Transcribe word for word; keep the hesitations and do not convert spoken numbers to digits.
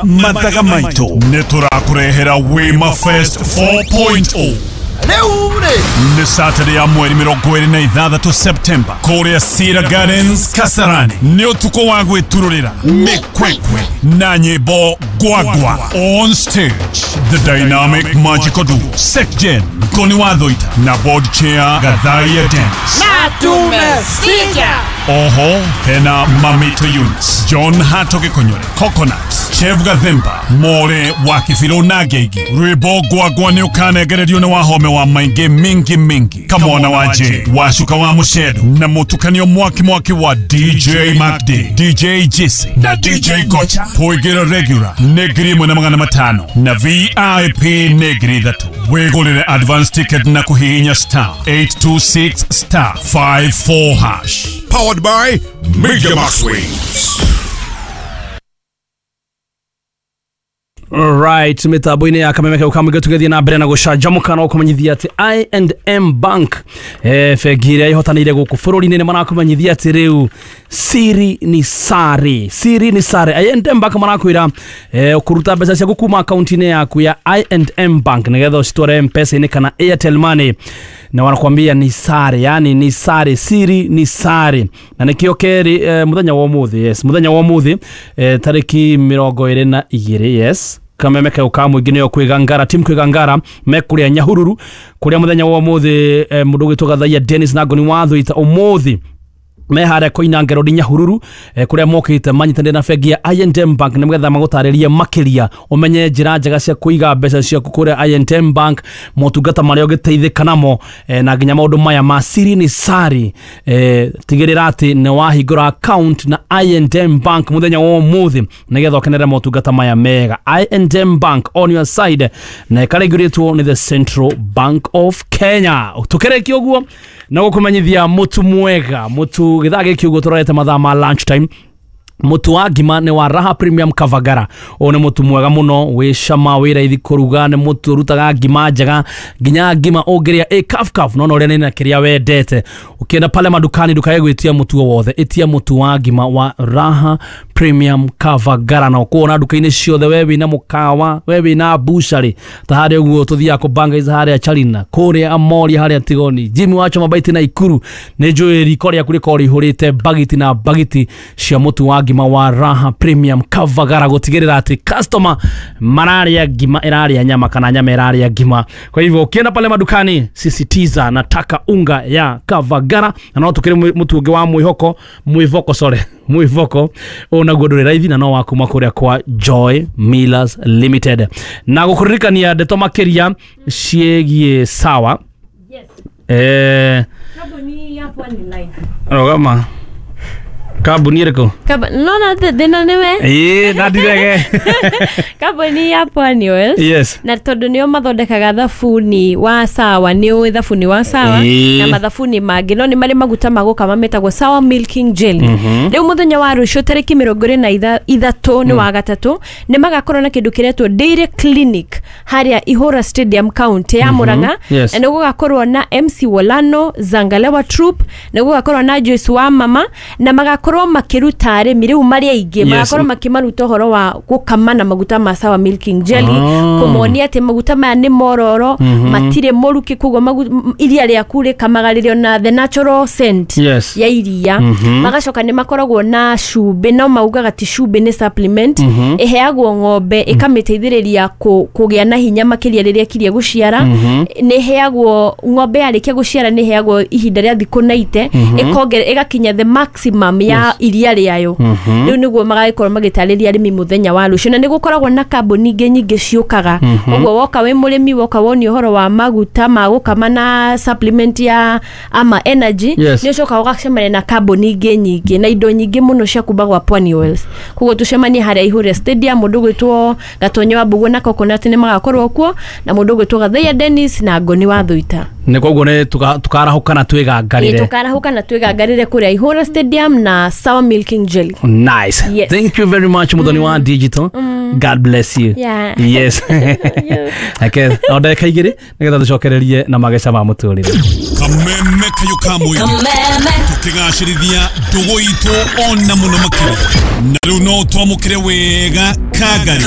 Mathaga maitũ nĩ tũrakũrehera Wima Fest four point oh. Nĩ Saturday ya mweri mĩrongo ĩrĩ na ithathatũ September kũrĩa Cedar Gardens Kasarani. Nĩ ũtukũ wa gwĩturũrĩra mĩkwekwe na nyĩmbo gwagwa. On stage, the dynamic magical duo Sekjen Ngoni wa Thuita na board chair Gathaia Dennis. Na tumesikia. Oho hena Mamito Eunice, John Hato Gĩkũnyũre, Coconut, Chef Gathemba, More wa Kibirũ na Ngeigi. Rwĩmbo gwagwa nĩ ũkanengererio nĩ wahome wa maingĩ mingi mingi, Kamwana wa J, Wacuka wa Mũcendu, na mũtukanio mwaki mwaki wa D J Macd, D J Jesse na D J Gocha. Kũingĩra regular nĩ ngiri ĩmwe na magana matano na V I P nĩ ngiri ithatũ. Wĩgũrĩre advance ticket na kũhihinya star eight two six star five four hash. Powered by Media Max Waves. Right, mitambo-inĩ ya Kameme kau ka mũingĩ tũgĩthiĩ na mbere na gũcanjamũka na gũkũmenyithia atĩ I and M Bank, eh, bengi ĩrĩa ĩhotanĩire gũkũ bũrũri-inĩ nĩ marakũmenyithia atĩ rĩu siri ni sare, siri ni sare. I and M Bank marakwĩra, eh, ũkũruta mbeca ciaku kuma akaunti-inĩ yaku ya I and M Bank nĩgetha ũcitware M-Pesa-inĩ kana Airtel Money, na wanakwambia ni sare, yani ni sare, siri ni sare. Na nĩkĩo kerĩ, eh, mũthenya wa ũmũthĩ, yes, mũthenya wa ũmũthĩ, eh, tarĩki mĩrongo ĩrĩ na igĩrĩ, yes, Kameme kau ka mũingĩ nĩyo kwĩgangara, timu kwĩgangara mekũrĩa Nyahururu kũrĩa mũthenya wa ũmũthĩ, eh, mũndũ ũgwĩtwo Gathaia Dennis na Ngoni wa Thuita ũmũthĩ me harĩa Koinange Road Nyahururu, eh, kũrĩa mokĩte manyitanĩire na bengi ya I and M Bank nĩgetha magũtarĩrie makĩria ũmenye njĩra njega cia kũiga mbeca ciaku kũrĩa I and M Bank, motungata marĩa ũngĩteithĩka namo, eh, na nginya maũndũ maya ma siri ni sari. Eh, tigĩrĩra atĩ nĩ wahingũra account na I and M Bank mũthenya wa ũmũthĩ nĩgetha ũkenere motungata maya mega. I and M Bank on your side, na ĩkarĩngĩrĩtwo nĩ the Central Bank of Kenya. Tũkĩrĩkia ũguo na gũkũmenyithia mũtu mwega, mũtu gĩthaa gĩkĩ ũguo tũrorete mathaa ma lunch time. Mũtu wa ngima nĩ wa Raha Premium Kavagara. Ũyũ nĩ mũtu mwega mũno, wĩ cama, wĩ raithi kũruga, nĩ mũtu ũrutaga ngima njega, nginya ngima ũngĩrĩa ĩ kaf kaf, no no ũrĩa nĩ kĩrĩa wendete. Ũkĩenda pale madukani ndũkae gwĩtia mũtu o wothe, ĩtia mũtu wa ngima wa Raha Premium Kavagara, na ũkuona nduka-inĩ ciothe, we wĩna mũkawa, we wĩna bushari, ta harĩa ũguo tũthiaga kũbangaiza harĩa Charina, kũrĩa Amoria, harĩa Tigoni, Jimmy wacho mabaiti na Ikuru, nĩ njũĩ riko rĩaku rĩkorwo rĩihũrĩte bagiti na bagiti cia mũtu wa ngima wa Raha Premium Kavagara, gũtigĩrĩra atĩ customer mararĩa ngima ĩrarĩa nyama kana nyama ĩrarĩa ngima. Kwa hivyo ukienda pale madukani, sisitiza nataka unga ya Kavagara. Na no tũkĩrĩ mũtu ũngĩ wa mwĩhoko, mwĩvoko, sorry, mwĩvoko ũyũ naguo ndũrĩ raithi na no wa kuma kũrĩa kwa Joy Millers Limited. Na gũkũririkania ndeto makĩria ciĩgiĩ sawa. Yes. Eh, Kambuni ya Pwani Life. Rũgama. Kambuni ĩrĩkũ? Kamba, no na thĩna nĩwe. Ĩĩ, na ndirege. Kambuni ya Pwani Oils. Yes. Na tondũ nĩo mathondekaga thabuni wa sawa, nĩ ũĩ thabuni wa sawa Ĩĩ. na mathabuni mangĩ, no nĩ marĩ maguta ma gũkama metagwo Sawa Milking Jelly. Rĩu mũthenya wa rũciũ tarĩki mĩrongo ĩrĩ na ithatũ nĩ wa gatatũ, nĩ magakorwo na kĩndũ kĩretwo Dairy Clinic harĩa Ihũra Stadium County ya Murang'a. Yes. Na nĩ gũgakorwo na M C Wolano, Zangalewa Troop, nĩ gũgakorwo na Joyce wa Mama, na magakorwo makĩruta arĩmi rĩu marĩ aingĩ, magakorwo makĩmaruta ũhoro wa gũkama na maguta ma Sawa Milking Jelly, Ah. kũmonia atĩ maguta maya nĩ mororo, matirĩ mũrukĩ, koguo iria rĩaku rĩkamaga rĩrĩ ona the natural scent Yes. ya iria. Magacoka nĩ makoragwo na cumbĩ, no maugaga ti cumbĩ nĩ supplement, ĩheagwo ng'ombe ĩkamĩteithĩrĩria kũgĩa na hinya makĩria rĩrĩa ĩkirie gũciara. Nĩ ĩheagwo ng'ombe yarĩkia gũciara, nĩ ĩheagwo ihinda rĩa thikũ ninety, ĩkongerera ĩgakinya the maximum ya iria rĩayo. Rĩu nĩguo magagĩkorwo magĩtarĩria arĩmi mũthenya wa rũciũ. Na nĩ gũkoragwo na kambuni ingĩ nyingĩ ciũkaga, ũguo woka wĩ mũrĩmi, woka wonio ũhoro wa maguta ma gũkama na supplement ya ama energy, Yes. nĩ ũcokaga ũgacemania na kambuni ingĩ nyingĩ na indo nyingĩ mũno cia kuma gwa Pwani Oils. Koguo tũcemanie harĩa Ihũra Stadium, mũndũ ũgwĩtwo Gatonyo wa Mbugũ na Coconut nĩ magakorwo kuo, na mũndũ ũgwĩtwo Gathaia Dennis na Ngoni wa Thuita. Nĩ koguo nĩ tũkarahũka na twĩgangarĩre. Tũkarahũka na twĩgangarĩre kũrĩa Ihũra Stadium na Sawa Milking Jelly. Nice. Yes. Thank you very much, Muthoni wa Digital. God bless you. Yeah. Yes. Okay, o ndagĩka igĩrĩ nĩgetha tũcokererie na mageca ma mũtũrĩre. Kameme kayo ka mũingĩ. Tũkĩgacĩrithia ndũgũ itũ ona mũno makĩria. Na rĩu no twamũkĩre wega Kangari.